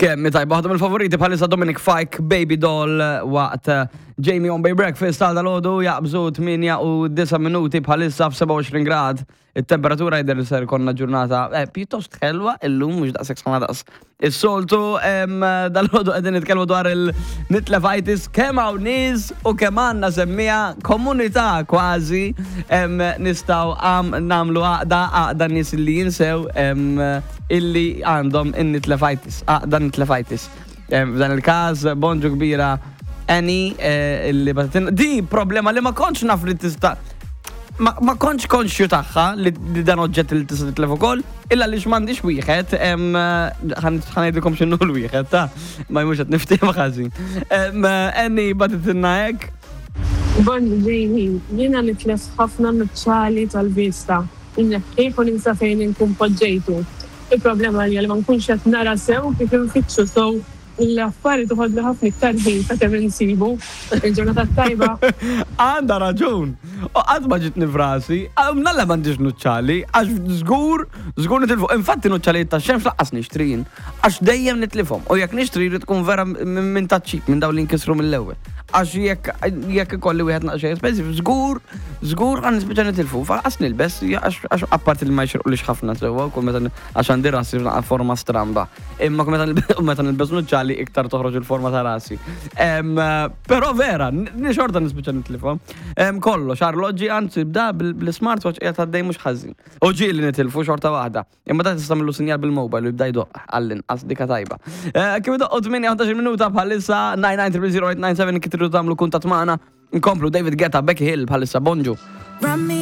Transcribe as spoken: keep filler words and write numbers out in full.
Kemm tajba, waħda mill-favoriti bħalissa Dominic Fike, Baby Doll, waqt eh, Jamie on Bay Breakfast għal dalgħodu. Jaqbżu tmienja u disa' minuti bħalissa f'sebgħa u għoxrin grad. Il-temperatura jidher li ser konna ġurnata eh, pjuttost ħelwa illum, mhux daqshekk sħana daqs is-soltu. Dalgħodu qegħdin nitkellmu dwar il-nitlefitis, kemm hawn nies u kemm għandna semmija komunità kważi em, nistgħu għam nagħmlu għaqda għaqda nies li jinsew em, illi għandhom in-nitlefitis, għaqda nitlefitis. Em, F'dan il-każ, bonġu kbira Annie eh, illi bagħtitilna di problema li ma kontx naf li tista' ma, ma kontx konxju tagħha li, li dan oġġett li tista' titlef ukoll, illa li m'għandix wieħed, em, ħa ngħidilkom x'inhu l-wieħed, ta' ma jmux qed niftehim ħażin. Em, Annie bagħtitilna hekk. Bon, Jamie, jiena nitlef ħafna nuċċali tal-vista. Inneħħih u ninsa fejn inkun poġġejtu. Il-problema hija li ma nkunx qed nara sew kif infittxu, so l-affari toħodli ħafna iktar ħin sakemm insibu. Il-ġurnata tajba. Għandha raġun. U qatt ma ġitni f'rasi, nalla m'għandix nuċċali, għax żgur, żgur nitilfu. Infatti nuċċali ta' xemx lanqas nixtri jien, għax dejjem nitlifhom. U jekk nixtri jrid tkun vera minn minn ta' cheap, minn dawn li nkisru mill-ewwel. Għax jekk jekk ikolli wieħed naqxej expensive, żgur, żgur għan nispiċċa nitilfu. Lanqas nilbes, għax għax apparti li ma jxirqulix ħafna sewwa, kull meta għax għandi rasi f'naqra forma stramba. Imma kull meta nilbe- meta nilbes nuċċali iktar toħroġ il-forma ta' rasi. Em, Però vera, ni xorta nispiċċa nitlifhom. Em, Kollox, arloġġi, anzi, bda bil-smartwatch qiegħed għaddej mhux ħażin. U ġieli nitilfu xorta waħda. Imma da tista' tagħmillu sinjal bil-mobile u jibda jdoq għall-inqas, dika tajba. Eh, Kif idoqqu tmienja minuta bħalissa, tnejn tnejn zero zero tnejn tnejn seba kif tridu tagħmlu kuntatt magħna. Nkomplu David Guetta, Becky Hill bħalissa, bonġu. Run me